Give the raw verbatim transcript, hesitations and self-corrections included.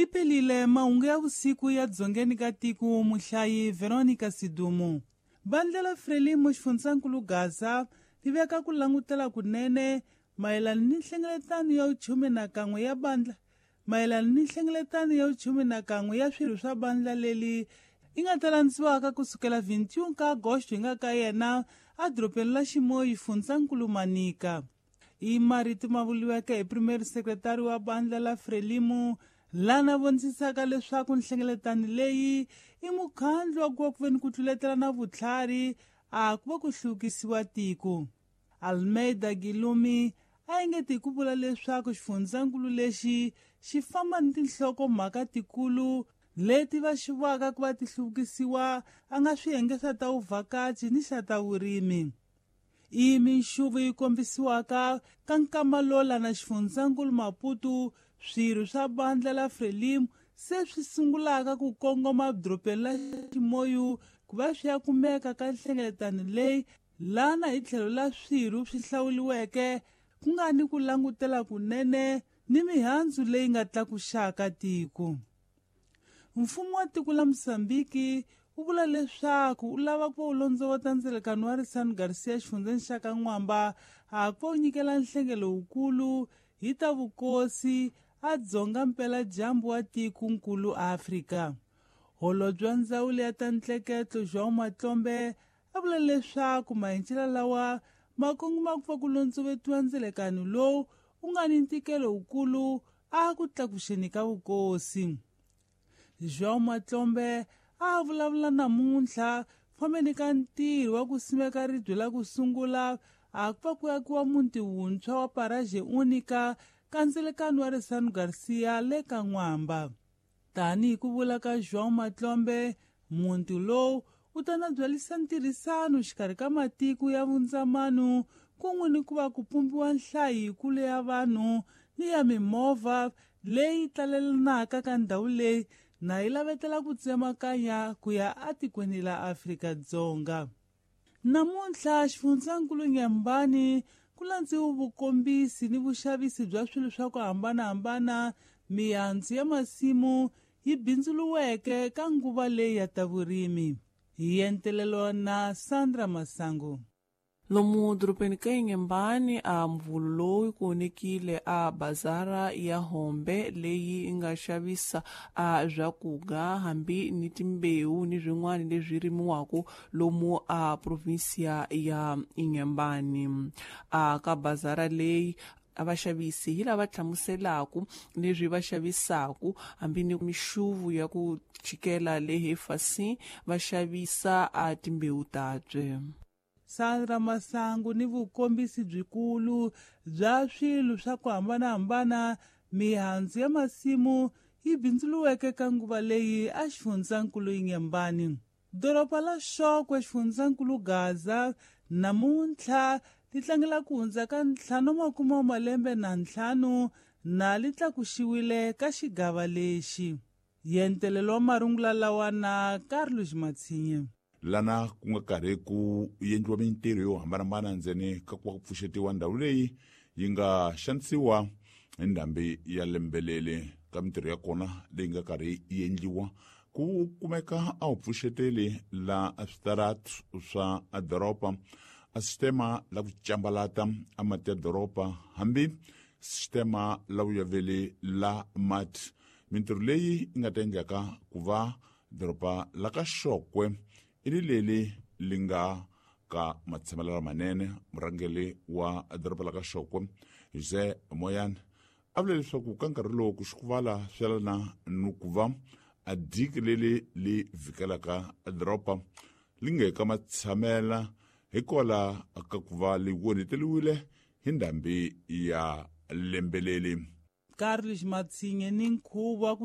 Liphelile mahungu ya vusiku ya dzongeni ka tiko muhlayi Veronica Sidumo. Vandla la Frelimo xifundzankulu Gaza li veka ku langutela kunene mayelana ni nhlengeletano ya vuchume na kan'we ya bandla mayelana ni nhlengeletano ya vuchume na kan'we ya swirho swa bandla leli yi nga ta landziwaka kusukela vintiun ka Agosto hi nga ka yena edorobeni la Ximoyi xifundzankulu Manika. I marito ma vuriweke hi premier secretary wa bandla la Frelimo lana vonisaka leswaku nhlengeletano leyi i mukhandlu wa ku va ku veni ku tluletela na vutlhari a ku va ku hluvukisiwa tiko. Almeida Gilumi a engeti hi ku vula leswaku xifundzankulu lexi xi famba ni tinhlokomhaka tikulu leti va xivaka ku va ti hluvukisiwa a nga swiyenge swa ta vuvhakachi ni xa ta vurimi. I minxuvu yi kombisiwaka ka nkama lowu lana xifundzankulu Maputo swirho swa bandla la Frelimo se swi sungulaka ku kongoma edorobeni la Ximoyu ku va swi ya kumeka ka nhlengeletano leyi lana hi tlhelo la swirho swi hlawuriweke ku nga ni ku langutela kunene ni mihandzu leyi nga tlakuxaka tiko. Mfumo wa tiko la Mozambiki wu vula leswaku wu lava ku va wu londzovota ndzelekano wa Risano Garcia xifundzeni xa ka N'wamba a ku va wu nyikela nhlengelo wukulu hi ta vukosi a dzonga mpeladyambu wa tikonkulu Afrika. Holobye wa ndzawulo ya ta ntleketlo João Matlombe a vula leswaku mahencela lawa ma kongoma ku va ku londzovetiwa ndzelekano lowu wu nga ni ntikelo wukulu a ku tlakuxeni ka vukosi. João Matlombe a vulavula namuntlha fambeni ka ntirho wa ku simeka ribye la ku sungula a ku va ku akiwa muti wuntshwa wa Paraje Unica ka ndzelekano wa Risano Garcia le ka N'wamba. Tanihi ku vula ka João Matlombe, muti lowu wu ta na byalisa ntirhisano xikarhi ka matiko ya vundzamano kun'we ni ku va ku pumbiwa nhlayo yikulu ya vanhu ni ya mimovha leyi talelanaka ka ndhawu leyi na yi lavetela ku tsemakanya ku ya atikweni la Afrika-Dzonga. Namuntlha xifundzankulu Nyambani ku landziwe vukombisi ni vuxavisi bya swilo swa ku hambanahambana mihandzu ya masimu yi bindzuriweke ka nguva leyi ya ta vurimi. Hi entelelo na Sandra Masangu. Lomu dorobeni ka Inhambane a mvulu lowu ku onekile a bazara ya Hombe leyi nga xavisa a swakudya hambi ni timbewu ni swin'wana leswi rimiwaka lomu a provinsia ya Inhambane. A ka bazara leyi a vaxavisi hi lava hlamuselaka leswi va xavisaka hambi ni mixuvu ya ku chikela lehe fasi va xavisa a timbewu tabye. Sandra Masangu ni vukombisi byikulu bya swilo swa ku hambanahambana mihandzu ya masimu yi bindzuriweke ka nguva leyi a xifundzankulu Inhambane. Doroba la Xokwe xifundzankulu Gaza namuntlha li tlangela ku hundza ka ntlhanu makume wa malembe na ntlhanu na li tlakuxiwile ka xigava lexi. Yentelelo wa marungula lawa na Carlos Matsinye. Lana ku nga karhi ku endliwa mintirho yo hambanahambana ndzeni ka ku va ku pfuxetiwa ndhawu leyi yi nga xanisiwa hi ndhambi ya lembelele. Ka mintirho ya kona leyi nga karhi yi endliwa ku kumeka a wu pfuxeteli la switaratu swa doroba, a sistema la ku cambalata a mati ya doroba hambi sistema la vuyaveli la mati. Mintirho leyi yi nga ta endlaka ku va doroba la ka Xokwe i ri leli li nga ka matshamelo lamanene. Murhangeri wa doroba la ka Xokwe José Moyane a vula leswaku ka nkarhi lowu ku xikuvala swi yelana ni ku va a diki leli li vhikelaka doroba li nge ka matshamela hikwalaho ka ku va li onheteriwile hi ndhambi ya lembeleli. Carlos Matsinye ni nkhuvo wa ku